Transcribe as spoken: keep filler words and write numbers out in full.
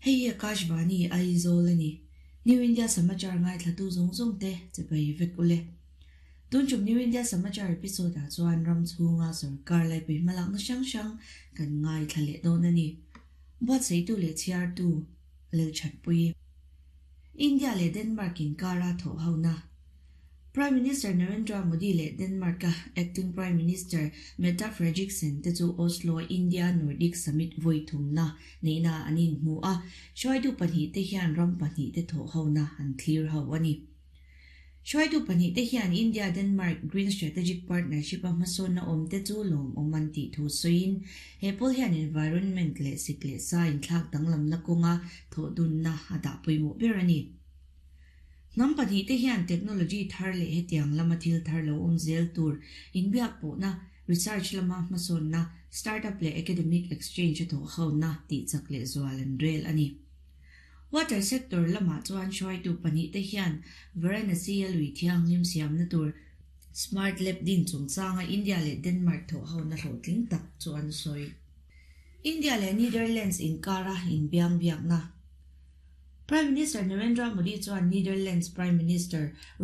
Hei hi Akashvani Aizawl ani. New India Samachar ngai thlatu zawng zawng te chibai vek ule. Tun tum New India Samachar episode ah chuan ram chhunga sarkar laipui hmalakna hrang hrang kan ngai thla leh dawn ani. Buatsaihtu leh chhiartu Lalchhatpui. India leh Denmark inkara thawh hona. Prime Minister Narendra Modi leh Denmark a Acting Prime Minister Mette Frederiksen te chu Oslo India Nordic Summit vawi thumna neihna an inhmu a, hruaitu pahnih te hian ram pahnih te thawh hona an thlir ho ani. Hruaitu pahnih te hian India Denmark Green Strategic Partnership a hmasawnna awm te chu lawm awm an tih thu sawiin he pawl hian environment leh sik leh sa inthlak danglamna kawnga thawh dunna a dah pawimawh ber ani. Hnam pahnih te hian technology thar leh hetiang lama thil thar lo awm zel tur inbiak pawhna, research lama hmasawnna, startup leh academic exchange a thawh hona tih chak leh zual an rel ani. Water sector lamah chuan hruaitu pahnih te hian Varanasi a lui thianghlim siamna tur Smart Lab din chungchanga India leh Denmark thawh hona hlawhtling tak chu an sawi. India leh Netherlands inkara inbiang biakna. Prime Minister Narendra Modi chuan Netherlands Prime Minister